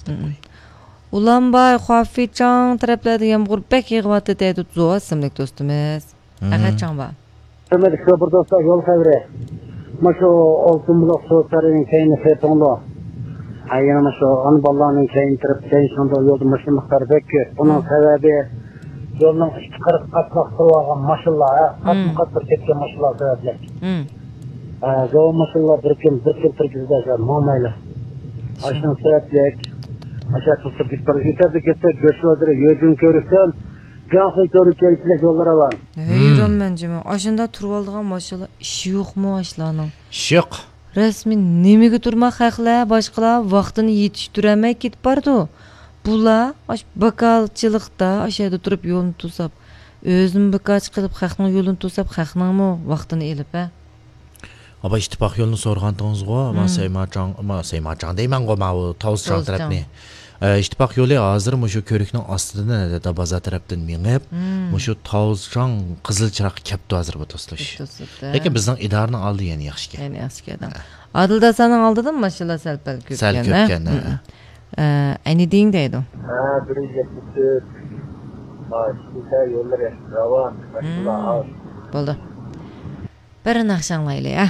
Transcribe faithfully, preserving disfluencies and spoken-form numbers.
مم. ئۇلانباي، خۇافېيچاڭ تەرەپلەردە يامغۇر بەك يېغىۋاتىدۇ دەيدۇ زوۋا ئىسىملىك دوستىمىز. مم. ئەخەتچاڭ بار. ھۆرمەتلىك شوپۇر دوستلار، يول خەۋىرى. مۇشۇ ئالتۇن بۇلاق سۇ سارىيىنىڭ كەينى سېپىڭلۇ. ھە، يەنە مۇشۇ ئانا بالىلارنىڭ كەينى تەرەپ، كەينى شۇنداق يولدا ماشىنا مىقدارى بەك كۆپ. بۇنىڭ سەۋەبى يولنىڭ ئىككى قىرىقى قاتلاق تۇرۇۋالغان ماشىنىلار، ھە، قاتمۇ قات بىر كەتكەن ماشىنىلار سەۋەبلىك. ھە، زاۋۇت ماشىنىلار بىر كۈن، بىر كۈن، بىر كۈن ماڭمايلا. ئاشۇنىڭ سەۋەبلىك ئاشۇ توختاپ كېتىپ بارىدۇ. ئۆتەردە كەتسە، گۆش بازىرى، يۆجۈن كۆۋرۈكتىن، جاڭخۇي كۆۋرۈككە يېتىشلىك يوللىرى بار. ھەيرانمەن جىمى. ئاشۇنداق تۇرۇۋالىدىغان ماشىنىلار ئىشى يوقمۇ ئاشۇلارنىڭ؟ ئىش يوق. رەسمىي نېمىگە تۇرما خەقلەر، باشقىلار ۋاقتىنى يېتىشتۈرەلمەي كېتىپ بارىدۇ. بۇلار ئاش باكالچىلىقتا ئاشۇ يەردە تۇرۇپ يولنى توساپ، ئۆزىمۇ بىكارچى قىلىپ خەقنىڭ يولىنى توساپ، خەقنىڭمۇ ۋاقتىنى ئېلىپ، ھە؟ ئاپا، ئىتتىپاق يولىنى سورىغانتىڭىزغۇ، ما سەيماچاڭ، ما سەيماچاڭ دەيمەنغۇ، ماۋۇ تاۋزىچاڭ تەرەپنى. ئە، ئىتتىپاق يولى ھازىر مۇشۇ كۆۋرۈكنىڭ ئاستىدىن، دادا بازار تەرەپتىن مېڭىپ، مۇشۇ تاۋزىچاڭ قىزىل چىراغقا كەپتۇ ھازىر بۇ دوستلار. لېكىن بىزنىڭ ئىدارىنىڭ ئالدى يەنە ياخشىكەن. يەنە ياخشىكەن. ئادىل داسانىڭ ئالدىدىمۇ ماشىنىلار سەل پەل كۆپكەن، سەل كۆپكەن، ھە؟ ئە، ئەنى دېيىڭ دەيدۇ. ھە، بىر يۈز يەتمىش تۆت. ھە، شىنخەي يوللىرى راۋان، ماشىنىلار ئاز. بولدى. بىر ناخشا ئاڭلايلى، ھە؟